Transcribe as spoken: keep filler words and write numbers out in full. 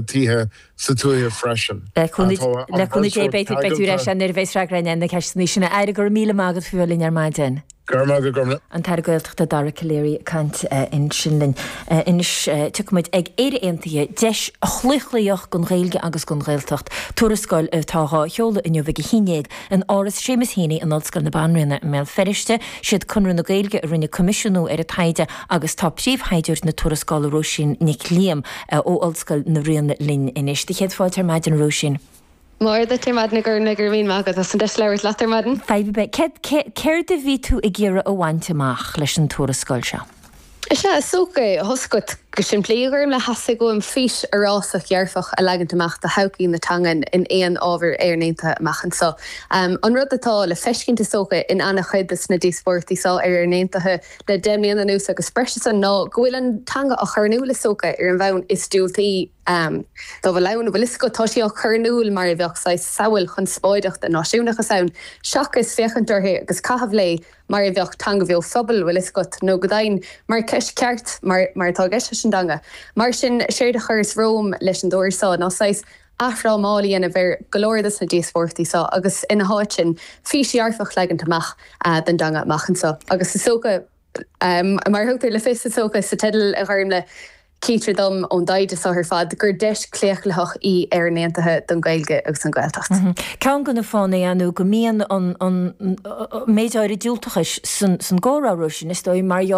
tithe sa tuaithe freisin. Le cúnamh Dé beidh tú ar ais nuair a bheas freagra ar na ceisteanna sin. A Aire, go raibh míle maith agat faoi bheith linn ar maidin. Go raibh maith agat, Gormlaith. An tAire Gaeltachta Dara Calleary ag caint ansin linn. Anois tiocfaimid ag Éire Aontaithe, deis chlaochlaitheach don Ghaeilge agus don Ghaeltacht. Tuarascáil atá á sheoladh inniu ag a haon déag in Áras Séamus Heaney in Ollscoil na Banríona i mBéal Feirste. Siad Conradh na Gaeilge a rinne coimisiúnú ar an taighde agus tá príomhthaighdeoir na tuarascála Róisín Nic Liam ó Ollscoil na Ríona linn anois. Do chéad fáilte ar maidin, a Róisín. Mora duit ar maidin, a Ghormlaith, go raibh míle maith agat as an deis labhairt leat ar maidin. Fadhb ar bith. Céard a bhí tú ag iarraidh a bhaint amach leis an tuarascáil seo? Is ea, is dócha, thosaigh go simplí, a Ghormlaith, theastaigh uaim fís fhorásach dhearfach a leagaint amach do thodhchaí na teangan in aon ábhar Éireann Aontaithe amach anseo. An rud atá le feiscint is dócha in an-chuid de na díospóireachtaí seo ar Éireann Aontaithe le deich mbliana anuas agus breis is san ná go bhfuil an teanga á chur in iúl is dócha ar an bhonn is diúltaí dá bhfuil ann, bhfuil fhios agat, tá sí á cur in iúl mar a bheadh saghas samhail chonspóideach den náisiúnachas ann seachas féachaint uirthi agus caitheamh léi mar a bheadh teanga bheo phobail, bhfuil fhios agat, nó go deimhin mar cheist ceart mar mar atá i gceist leis an dteanga. Mar sin, séard a chuireas romham leis an dtuairisc seo ná saghas athfhrámáil a dhéanamh ar go leor de na díospóireachtaí seo agus ina háit sin fís dhearfach leagaint amach don dteanga amach anseo. Agus is dócha, mar a thugtar le fios is dócha sa teideal, a Ghormlaith, Chítear dom ón dtaighde seo ar fad gur deis claochlaitheach í Éireann Aontaithe don Ghaeilge agus don Ghaeltacht. Ceann de na fáthanna ar ndóigh go mbíonn an méid áirid diúltachais san gcomhrá, Róisín, is dóigh, mar